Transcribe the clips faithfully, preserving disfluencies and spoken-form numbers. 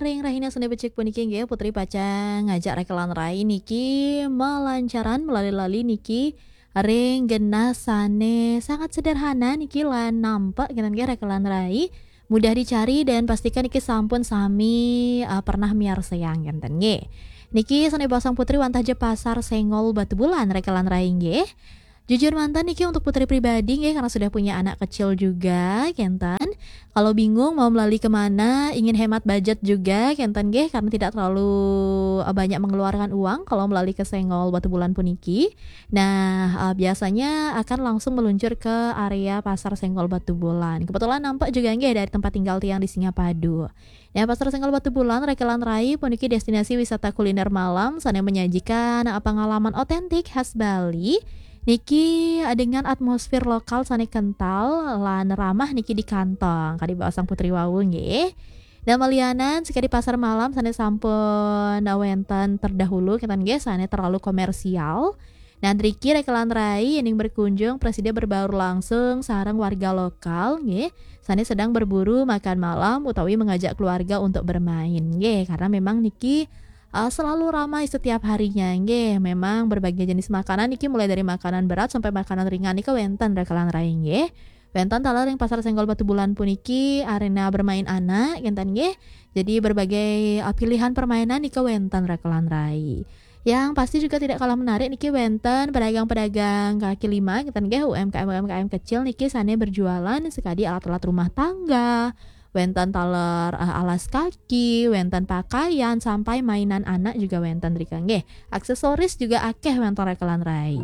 Ring rahina sane becik puniki nggih, Putri pacang ngajak rekelan rai niki malancaran melali-lali niki ring genah sane sangat sederhana niki lan nampak kenten nggih rekelan rai, mudah dicari dan pastikan niki sampun sami, eh, pernah miarsayang kenten nggih. Niki sane basang Putri wantah ja Pasar Senggol Batubulan rekelan rai nggih. Jujur manten niki untuk Putri pribadi nggih, karena sudah punya anak kecil juga kenten. Kalau bingung mau melali kemana, ingin hemat budget juga kenten nggih, karena tidak terlalu, eh, banyak mengeluarkan uang kalau melali ke Senggol Batubulan puniki. Nah, eh, biasanya akan langsung meluncur ke area Pasar Senggol Batubulan. Kebetulan nampak juga nggih dari tempat tinggal tiang di Singapadu. Nah, Pasar Senggol Batubulan rekelan rai puniki destinasi wisata kuliner malam sane menyajikan, eh, pengalaman otentik khas Bali. Niki, eh, dengan atmosfer lokal sane kental lan ramah niki di kantong. Kadi basang Putri wau nggih. Dan malianan sekadi pasar malam sane sampun, eh, wenten terdahulu kenten nggih, sane terlalu komersial. Nah, driki rekelan rai yening berkunjung prasida berbaur langsung sareng warga lokal nggih, sane sedang berburu makan malam utawi mengajak keluarga untuk bermain nggih, karena memang niki, eh, selalu ramai setiap harinya nggih. Memang berbagai jenis makanan niki, mulai dari makanan berat sampai makanan ringan nika wenten rekelan rai nggih. Wenten taler ring Pasar Senggol Batubulan puniki arena bermain anak kenten nggih. Jadi berbagai, eh, pilihan permainan nika wenten rekelan rai. Yang pasti juga tidak kalah menarik niki wenten pedagang-pedagang kaki lima kenten nggih, U M K M U M K M kecil niki sane berjualan sekadi alat-alat rumah tangga, wenten taler, eh, alas kaki, wenten pakaian, sampai mainan anak juga wenten drika nggih. Aksesoris juga akeh wenten rekelan rai.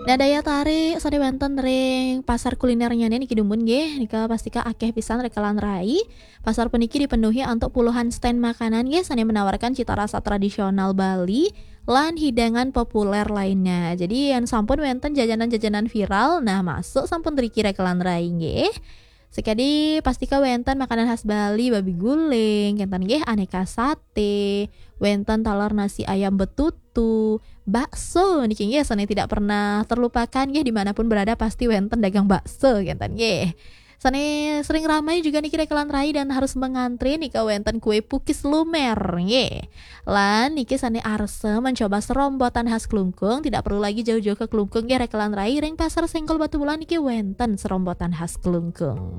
Nah, daya tarik sane wenten ring pasar kulinernya niki dumun nggih, nika pastika akeh pisan rekelan rai. Pasar puniki dipenuhi antuk puluhan stand makanan nggih, sane menawarkan cita rasa tradisional Bali lan hidangan populer lainnya. Jadi, yen sampun wenten jajanan-jajanan viral, nah, masuk sampun driki rekelan rai nggih. Sekadi pastika wenten makanan khas Bali, babi guling, kenten nggih, aneka sate, wenten taler nasi ayam betutu, bakso niki nggih, sane tidak pernah terlupakan nggih, dimanapun berada pasti wenten dagang bakso kenten nggih. Sane sering ramai juga niki rekelan rai dan harus mengantri nika wenten kue pukis lumer nggih. Lan niki sane arsa mencoba serombotan khas Klungkung, tidak perlu lagi jauh-jauh ke Klungkung nggih rekelan rai, ring Pasar Senggol Batubulan niki wenten serombotan khas Klungkung.